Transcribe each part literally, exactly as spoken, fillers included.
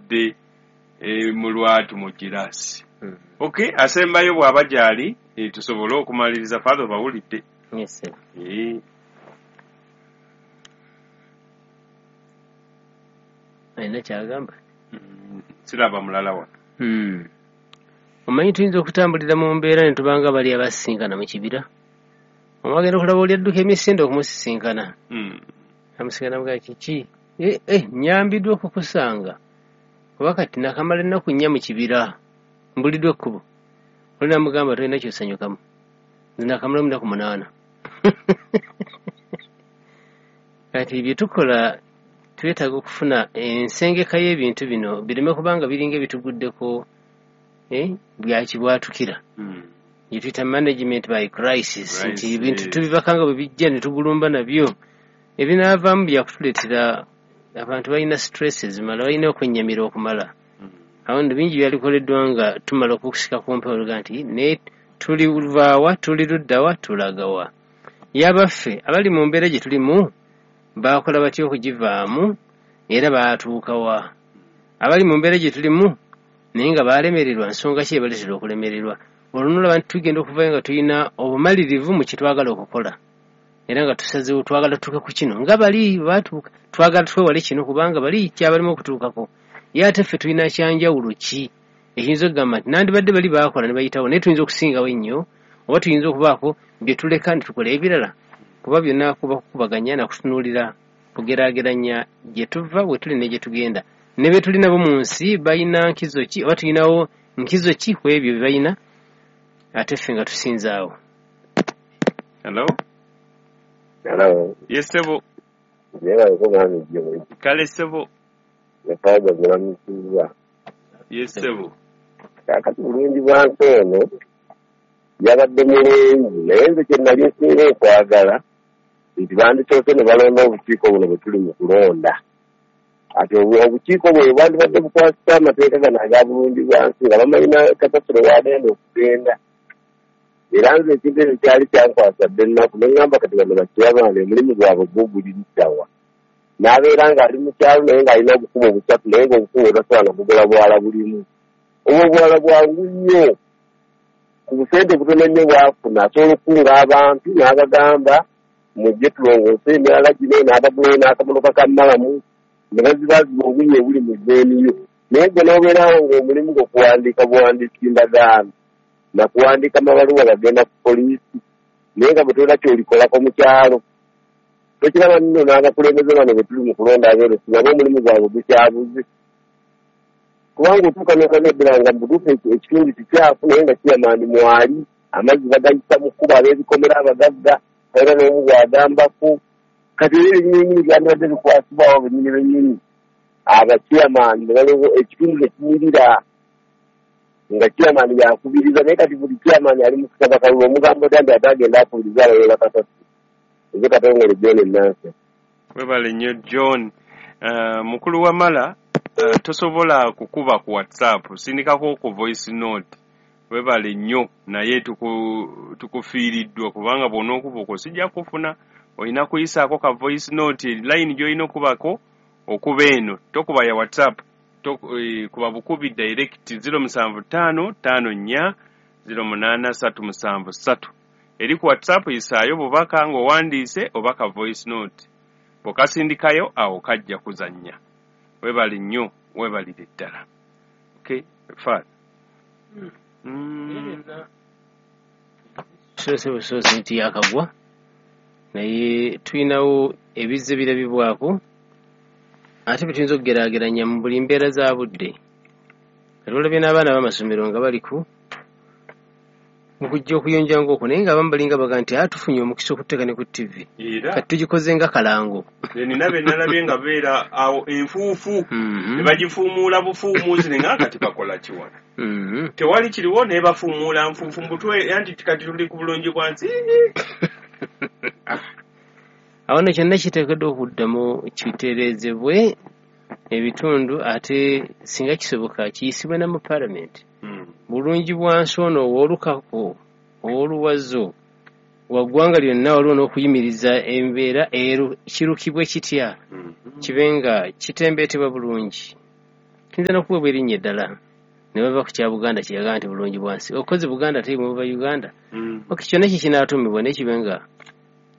Yabadde e, mu lwatu mu kiraasi. Okay, asembayo bw'aba gy'ali, eh, tusobole okumaliriza. Father, obawulidde? Yes, sir. Eh, alina kyagamba. mm, siraba mulala wano. Hmm. Omanyi tuyinza okutambulira mu mbeera ne tubanga bali abasisinkana mu kibira, omwagenda okulaba oli adduka emisinde okumusisinkana. Mm. Amusinkana mugaa kiki, eh, eh, nyambiddwa okukusanga kuba kati nakamala ennaku nnya mu kibira, mbuliddwa ekkubo. Oli namugamba, tolina kyosanyukamu, nze nakamalamu ennaku munaana. Kati bye tukola twetaaga okufuna ensengeka y'ebintu bino bireme kubanga biringa ebituguddeko, eh, byakibwatukira. Mm. Gye tuyita management by crisis, nti Crisis. ebintu tubibaka nga bwe bijja ne tugulumba nabyo, ebinaavaamu byakutuleetera. Abantu balina stress ezimala, balina okwennyamira okumala. Mm. Awo nno bingi byalikoleddwa nga tumala okusika ku mpewo oluga nti ne tuli luvaawa, tuli luddawa, tulagawa. Yabaffe abali mu mbeera gye tulimu baakola batya okugivaamu, era baatuukawa? Abali mu mbeera gye tulimu naye nga baalemererwa, nsonga ki ebaleetera okulemererwa? Olwo nolaba nti tugenda okuvayo nga tulina obumalirivu mu kye twagala okukola, era nga tusazeewo twagala tutuuke ku kino nga bali baatuuka, twagala twewale kino kubanga bali kyabalimu okutuukako. Ye ate ffe tulina kyanjawulo ki ekiyinza okugamba nti nandibadde bali baakola ne bayitawo, naye tuyinza okusingawo ennyo, oba tuyinza okubaako bye tuleka ne tukola ebirala? Kuba byonna kuba kukubaganya nakutunuulira, kugeraageranya gye tuva, we tuli ne gye tugenda, ne be tuli nabo mu nsi balina nkizo ki, oba tulinawo nkizo ki ku ebyo bye balina ate ffe nga tusinzaawo. Hello. Hello. Yes, ssebo. Nebaleko mwami Jjo. Kale ssebo. Yafaaga gulamusizza. Yes, ssebo. Kaakati bulungi bwa nsi eno yabadde mulungi, naye nze kye nali nsinga okwagala nti bandisoose ne balonda obukiiko buno bwe tuli mu kulonda. Ati obu- obukiiko bwe bwandibadde bukwasisa amateeka gano aga bulungi bwa nsi nga bamanyi na kasasiro w'agenda okugenda. Era nze ekintu ekyo kyali kyankwasa dda ennaku, ne ŋŋamba kati bano bakiyabanga omulimu gwabwe gwo guli luddawa? N'abeera ng'ali mu kyalo naye ng'alina obukumu busatu, naye ng'obukumu tasobola na kugula bwala bulimu. Obwo obwala bwangu nnyo, ku busente butono nnyo bw'afuna asobola okukunga abantu n'abagamba mujje tulongoose emyala gino, n'abagulayo n'akamotoka ka malamu ne bazibaziba obunnya obuli mu zooniyo. Naye gwe n'obeerawo ng'omulimu gwo kuwandiika buwandiisi ndagaano na kuwandiika mabaluwa gagenda ku poliisi, naye nga bwe tolina ky'olikolako mu kyalo. Tokiraba nno n'abakulembeze bano bwe tuli mu kulonda abeerusi nabo omulimu gwabwe gukyabuze, kubanga otuuka n'okanedera nga mu butuufu eki- ekitundu kikyafu, naye nga kiyamandi mwali amazzi bagayisa mu kkubo ab'ebikomera abagagga, era n'omu bw'agambako. Kati era ebinyinyini byandibadde bikwasibwawo bennyini bennyini abakiyamandi ne baliwo ekitundu ne kinyirira nga kiyamani yakubiriza. Naye kati buli kiyamani ali mu kusaba kalulu, omugambo dda nti ate agenda akubiriza abayola kasasi. Nze Katongole John Nanse. Webale nnyo John. Uh, mukulu Wamala, uh, tosobola kukuba ku WhatsApp, sindikako ku voice note. Webale nnyo, naye tuku, tukufiiriddwa kubanga bw'onookuba okwo sijja kufuna, olina kuyisaako ka voice note. Line gy'olina okubako okuba eno, tokuba ya WhatsApp, to, eh, kuba bukubi direct zero musanvu ttaano ttaano nnya zero munaana ssatu musanvu ssatu. Eri ku WhatsApp yisaayo bubaka ng'owandiise oba ka voice note, bw'okasindikayo awo kajja kuzannya. Webale nnyo, webalire ddala. Okay, Father. Mm. Soose busoose nti yakagwa, naye tulinawo ebizze birabibwako ate bye tuyinza okugeraageranya mu buli mbeera za budde. Kati olabye n'abaana b'amasomero nga bali ku mu kujja okuyonja ng'okwo, naye ng'abamu balinga baga nti aa tufunye omukisa okuteeka ne ku T V. Era kati tugikoze nga kalango. Nina be nalabye nga beera awo enfuufu Mhm. ne bagifuumuula bufuumuuzi, ne nga kati bakola ki wano? Mhm. Tewali kiriwo, naye bafuumuula nfuufu mbutwe anti kati tuli ku bulungi bwa nsi. Awo nno kyonna kiteekeddwa okuddamu kitereezebwe ebitundu, ate singa kisoboka kiyisibwe na mu paalamenti. Mm. Bulungi bwa nsi ono ow'olukako ow'oluwazo wa ggwanga lyonna, waliwo n'okuyimiriza embeera ero kirukibwe kitya Mm. kibe nga kitembeetebwa bulungi. Kiyinza n'okuweebwa erinnya eddala ne bava ku kya Buganda kye yagamba nti bulungi bwansi. Okoze Buganda ate muva Uganda. Mm. Ok, kyonna ekyo kinaatuumibwa naye kibe nga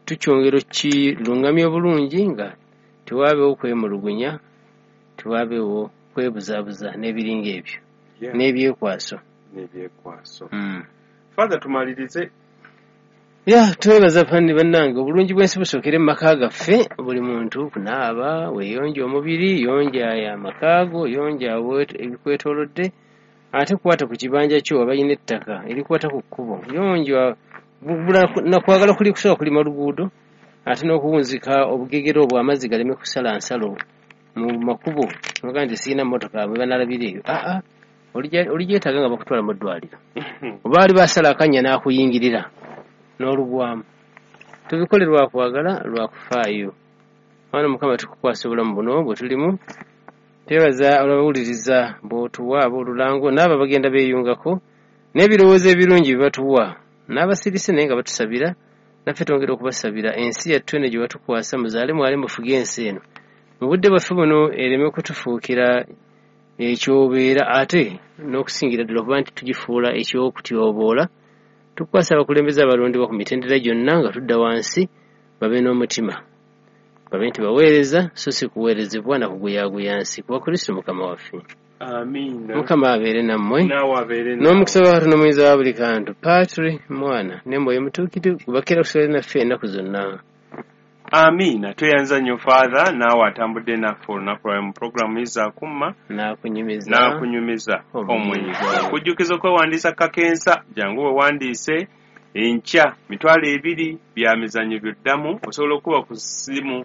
tukyongera okukirungamya obulungi nga tewaabeewo kwemulugunya, tewaabeewo kwebuzaabuza n'ebiringa ebyo Yeah. n'ebyekwaso. N'ebyekwaso. Mm. Father, tumalirize. Ya, twebaza fanni bannange, obulungi bw'ensi busookere mu maka gaffe. Buli muntu kunaaba, weeyonja omubiri, yonja amaka go, yonja awe- ebikwetoolodde, ate kwata ku kibanja kyo abalina ettaka erikwata ku kkubo, yonja bula nakwagala kuli kusobola kulima luguudo, ate n'okuwunzika obugegere obwo amazzi galeme kusala nsalo mu makubo. Oga nti sirina mmotoka bwe banalabira eyo, aa oligyetaaga nga bakutwala mu ddwaliro, oba ali basala akannya n'akuyingirira n'olugwamu. Tubikole lwa kwagala, lwa kufaayo. Mwana Mukama, tukukwasa obulamu buno bwe tulimu. Twebaza olwabawuliriza bw'otuwa aboolulango n'abo abagenda beeyungako n'ebirowoozo ebirungi bye batuwa n'abasirise naye nga batusabira, naffe twongera okubasabira ensi yattu eno gye batukwasa. Muzaale mwale mufuge ensi eno mu budde bwaffe buno ereme kutufuukira ekyobeera, ate n'okusingira ddala okuba nti tugifuula ekyokutyoboola. Tukwasa abakulembeze abalondebwa ku mitendera gyonna nga tudda wansi, babe n'omutima, babe nti baweereza so si kuweerezebwa na kuguyaaguya nsi, kuba Kristo Mukama waffe. Amiina. Mukama abeere nammwe. Naawe abeere naawe. N'omukisa wa Katonda omuyinza wa buli kantu, Patri, Mwana ne Mwoyo Mutuukirivu, gubakira okusigala naffe ennaku zonna. Amiina. Tweyanza nnyo Father, naawe atambudde naffe olunaku lwawe mu programu Izakumma n'akunyumiza n'akunyumiza omuyiggo. Omuyiggo. Kujjukiza okwewandiisa kakensa, jangu wewandiise enkya mitwalo ebiri bya mizannyo byoddamu. Osobola okuba ku ssimu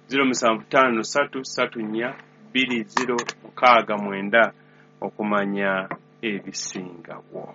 zero musanvu ttaano ssatu ssatu nnya bbiri zero mukaaga mwenda okumanya ebisingawo.